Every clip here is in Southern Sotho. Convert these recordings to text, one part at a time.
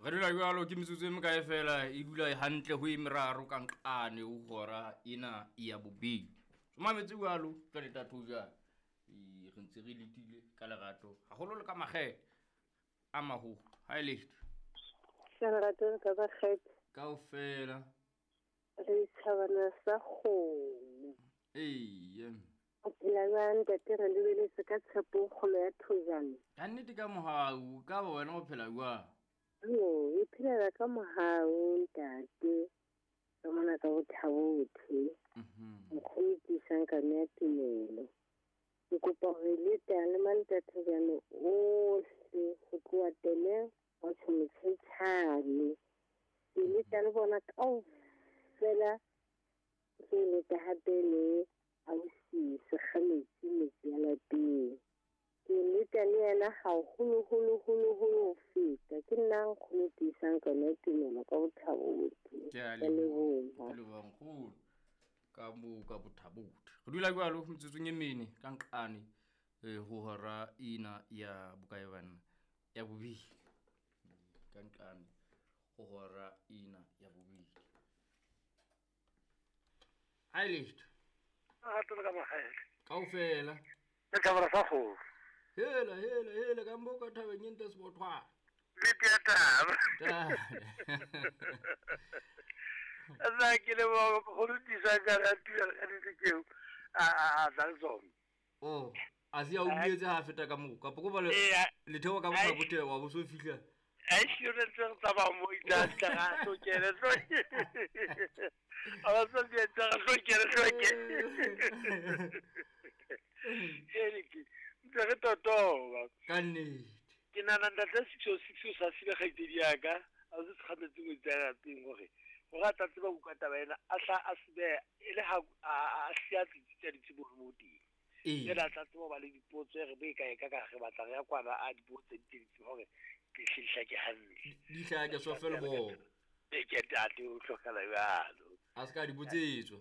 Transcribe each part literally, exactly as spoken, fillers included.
Re dula jwalo ke metsotso e mekae fela e dula hantle ho e meraro ka nqane ho hora ena ya bobedi. So mametse jwalo jwale tatho jwale. E re ntse re letile ka lerato haholo le ka makgethe a maholo. Ha e letho. Lerato le ka makgethe. Kaofela. Re thabana sa kgomo. Eya. O phela jwang ntate, re lebeletse ka tshepo kgolo ya Thojane. Ka nnete ka mohau, ka ba wena o phela jwang? Yo, e phelela ka mohau ntate. Re mona ka bothabothe. Mhm. Nkgono tiisang ka ya tumelo. Ke kopa hore le teng le mantate ohle ho tloha tele wa tshomotshane. Ke le tla le bona kaofela ke le ka hape le ausi Sekgametsi metsi ya lapeng. Ke leta le yena haholoholo holo holo ho feta. Ke nna nkgono tiisang ka yona tumelo ka bothabothe. Ke a Ke a leboha. leboha. Ke leboha nkgono. Ka moo ka bothabothe. Re dula jwalo metsotsong e mene ka nqane eh ho hora ena ya bokae banna ya bobedi. Ka nqane ho hora ena ya bobedi. Ha e letho. Lerato le ka makgethe. Kaofela. Le thabela sa kgomo. Hela hela hela ka mbo ka thabeng e ntle sebothwana. Nnete ya taba. Taba. Nna ke leboha nkgono tiisang ka ya tumelo ka nnete ke eo a a tla le tsona. Oh, a se a utlwetse ha feta ka moo kapa ko ba le Eya. letheo ka Ai. botha wa bo so fihla. Ai sure ntse re tsamaya mo itla tla ga hlokele hloke. A ba so ke tla hlokele hloke. Ere ke ntse re totoba. Ka nnete. Ke nahana ntate six oh six o sa sibe kgaitsedi ya ka, a se sekgametse ngwetsi ya lapeng hore hore a tla tseba ho utlwa taba ena, a hla a se behe e le ha a a siya tsitsi ditsebo mo teng. Ee. Jwale a tla tseba ho ba le dipotso e re bo e kae ka ka re batla re ya kwana a dipotso tse di tse hore ke hle di hlake hantle. Di hlake so fela bo. E ke ntate o hlokala jwalo. A se ka di botsetswa.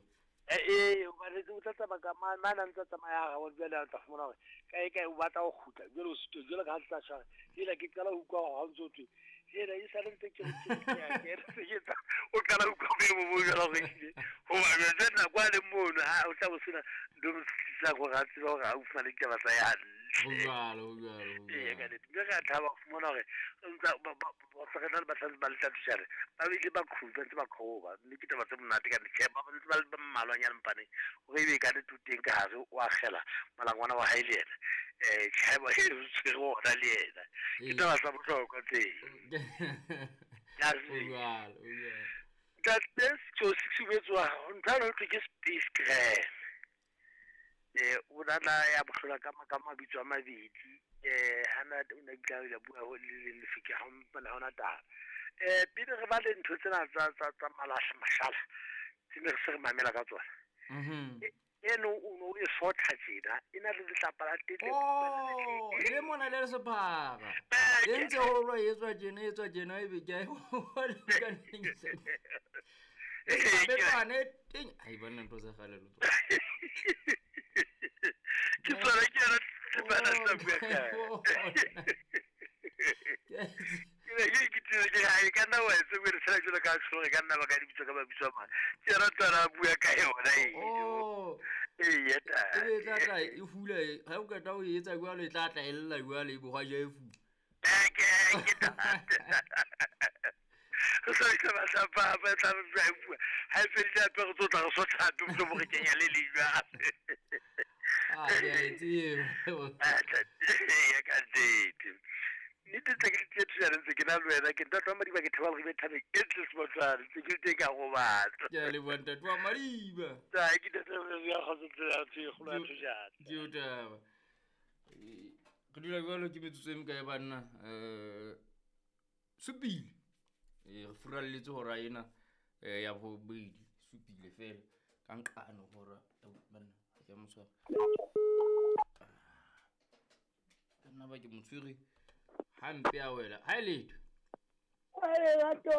Eh eh hobane o tla tsamaya ka mane mane a ntse a tsamaya ha gabo jwale a tla fumana hore kae kae o batla ho kgutla jwale o sitwa jwale ka ha tla tshwara. Hela ke qala ho utlwa hore ha o ntso thwe hela e sale ntse ke re ke ya ke re ke tsa o qala ho utlwa boemo bo jwalo hore ehlile hoba jwale nako a le mono ha o tla bo sena ntho e mo sitisang hore a tsebe hore a o fumane ditaba tsa hae hantle. Ho jwalo, ho jwalo, ho Eya, ka jwalo. nnete. Mme re a thaba ho fumana hore ntsa ba ba ba re na le bahlano ba letatushare ba bile ba qhuba ntse ba qhoba mme ke taba tse monate ka nnete. Tjhe, ba ntse ba le ba mmalwanyana mpaneng hore ebe ka nnete o teng ka hare o akgela molangwana wa hae le yena. Eh, tjhe, ba e tshwere ona le yena. Ke Ee. taba tsa bohlokwa tseo. Ya Ho tseba. jwalo, ho jwalo. Ntate six oh six o etswa ntho ena ho thwe ke space gram. Eh, o na ya bohlola ka ka mabitso a mabedi. Eh, hana o na kile a bua ho le leng lefike ha mpana ha hona taba. Eh, pele re ba le ntho tsena tsa tsa tsa malahla mashala tse ne re se re mamela ka tsona. Mhm. Eno o no e sotha tjena, e na le letlapa la teng le Oh, le mona le sephara. E ntse ho lwa e tswa tjena, e tswa tjena ebe ke a e ka neng se. Betswane teng. Ai banna ntho tsa kgale lo. Ke tsona ke yona tsebana sa bua ka. Ke ne ke ikutlwile ke re, hai, ka nna wa etsa o re tshela jwalo ka tsholo, ka nna ba ka dibitso ka mabitso a mang. Ke yona tswana a bua ka yona eo. Oh. Eya, ntate. Ebe e tla tla e hula, ha o qeta ho etsa jwalo e tla tla e lla jwalo e bo hwa ja e fula. Eh, ke ke ntate. Re sa tla ba tla ba ba tla ba e bua. Ha e fedile hape re tlo tla re sotha hape mohlomong re kenya le leng jwale. Ah, ke a e tseba. Ah, ntate, eya, ka nnete. Nnete tse ke tse thusana ntse ke na le wena, ke ntate wa Madiba, ke thaba re be thabeng e ntle Sebothwane, ntse ke le teng ka robatsa. Ke a leboha ntate wa Madiba. Ta, ke ntate wa Madiba, kgotso tsela ya ntho e kgolo ya Thojane. Ke o taba. Eh, re dula jwalo ke metsotso e mekae banna? Eh, supile. Eh, re furalletse hora ena, eh, ya bobedi, supile fela. Ka nqane hora, banna, ha ke a mo tshwara. Ka nna ba ke mo tshwere hampe a wela. Ha e letho. Wa lerato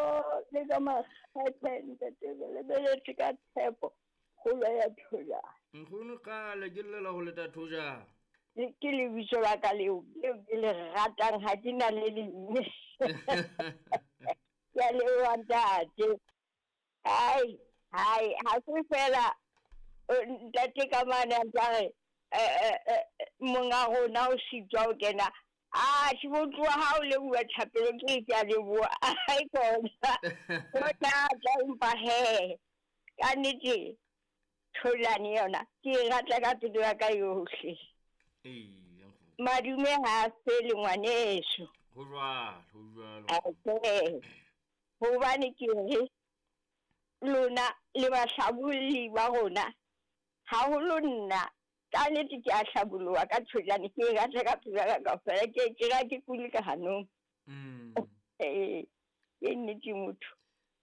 le ka makgethe ntate, re lebeletse ka tshepo kgolo ya Thojane. Nkgono kgale ke llela ho leta Thojane. Ke lebitso la ka leo, leo ke le ratang, ha ke na le leng. Ke a leboha ntate. Ai, hai, ha se fela ntate ka mane a ntsa re monga rona o sitwa ho kena. Ah, ke botloa ha o leboha thapelo ke ke a leboha. Ai kona. Ho thata empa he. Ka nnete tholane yona ke e rata ka pelo ya ka yohle. Ee, nkgono. Madume ha a fele ngwaneso. Ho jwalo, ho jwalo. Okay. Hobane ke re lona le bahlabolli ba rona, haholo nna ka nnete ke a hlaboloha ka tholane, ke e rata ka pelo ya ka kaofela, ke ke ra ke kule ka hanong. Mm. Eh, ke nnete motho.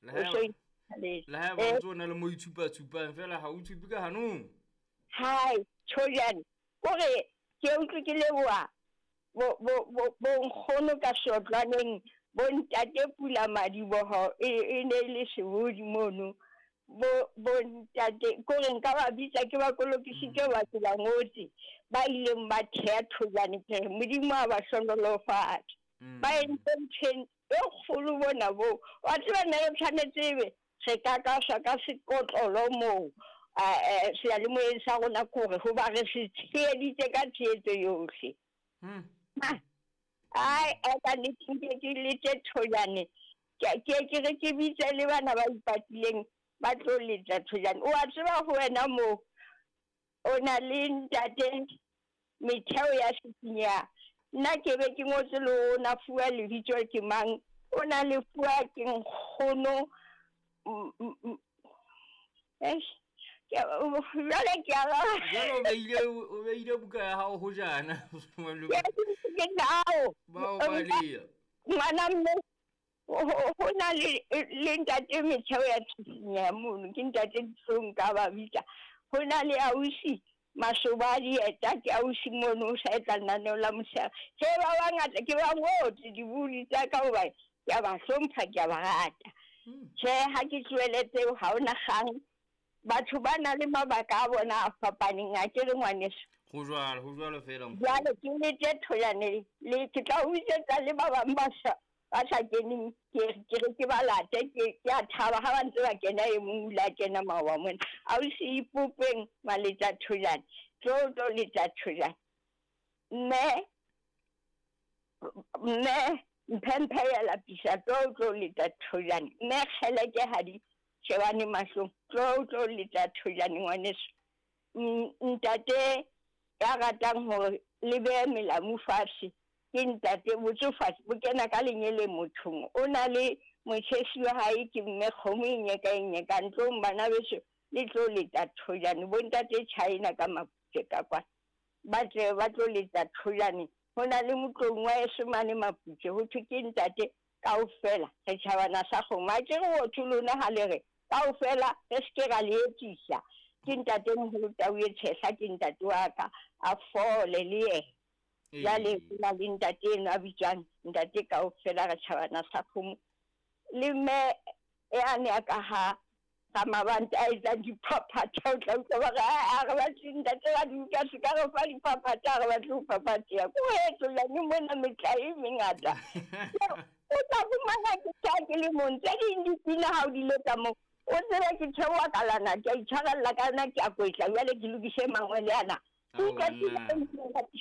Le O ha so eba ithabetse. le ha eba Eh. o ntso na le mo itshupa-tshupang fela ha o tshupe ka hanong. Hai, tholane. Kore ke utlwe ke leboha bo bo bo bo nkgono ka seotlwaneng, bo ntate Pula Madiboho e e ne e le sebodi mono. Bo bo ntate kore nka ba bitsa ke ba kolokisitse ba ke ba ngotse ba ileng ba theha tholane ke re Modimo a ba hlohonolofatse. Mm. Ba entse ntho e kgolo bona bo. Wa tseba nna re tshwanetse ebe re ka kaswa ka sekotlolo moo. Eh, seyalemoyeng sa rona kore hoba re se tsheheditse ka tshehetso yohle. Hmm. Ah, ai, ai, ka nnete nke ke letse tholane. Ke ke ke re ke bitse le bana ba ipatileng ba tlo letsa tholane. O a tseba ho wena moo o na le ntate metheo ya Sitsinya. Nna ke be ke ngotse le ona fuwa lebitso ke mang, o na le fuwa ke nkgono. Mm, mm, mm. Eish, ke jwale ke a ba- Jwale o beile o beile buka ya hao ho jana. Ke ke nao. Ba o baleha. Ngwana mme ho ho na le le ntate metheo ya Sitsinya mono, ke ntate Dihlong ka ba bitsa. Ho na le ausi Masoba dieta, ke ausi mono o sa etsa lenaneo la mosehare. He ba bangata ke ba ngotse dibuli tsa ka hoba ke a ba hlompha, ke a ba rata. Hmm. Tjhe, ha ke tlohele tseo ha hona kgang. Batho ba na le mabaka a bona a fapaneng, a ke re ngwaneso. Ho jwalo, ho jwalo fela nkgono. Jwale ke letse tholane le ke tla o bitsetsa le ba bang ba sa ba sa keneng, ke ke re ke ba late, ke ke a thaba ha ba ntse ba kena e mong o ile a kena maoba mona. Ausi Ipopeng maletsa tholane, tlo tlo letsa tholane. Mme mme mphemphe ya lapisa, tlo tlo letsa tholane. Mme kgeleke ha di shebane mahlong, tlo tlo letsa tholane ngwaneso. Mm, ntate ya ratang hore le behe melamu fatshe ke ntate botsofadi bo kena ka lenyele mothong. O na le motjhesi wa hae ke mme kgomo e nyeka e nyeka ntlong bana beso le tlo leta tholane. Bo ntate China ka Maputswe ka kwa ba tle ba tlo leta tholane. Ho na le motlong wa heso mane Maputswe ho thwe ke ntate kaofela re tjhabana sa kgomo. Ha ke re ho thwe lona ha le re kaofela re se ke ra le etsisa. Ke ntate moholo Tau e Tshehla, ke ntate wa ka a fole le yena. Jwale Ee. ho na le ntate eno a bitswang ntate kaofela re tjhabana sa kgomo. Le mme yane a ka ha Ramabanta a etsang diphaphatha, o tla utlwa ba re, "Ah, ha re batle ntate ra di utlwa, se ka re fa diphaphatha, ha re batle ho phaphatheha." Ko etsolane mona metlae e mengata. O tla fumana ke tjha ke le mong, tse ding dipina ha o di letsa moo, o tsebe ke theoha kalana, ke a itshwarella ka yona, ke a kwetla, jwale ke lokise mangwele ana. Ke Ao, utlwa pina banna. e monate.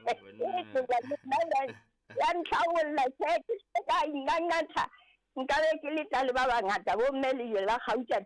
Ao, banna. Ya ntlhabolla, tjhe, ke se ka ingangatha. Nka be ke letsa le ba bangata, bo mme lejwe la kgauta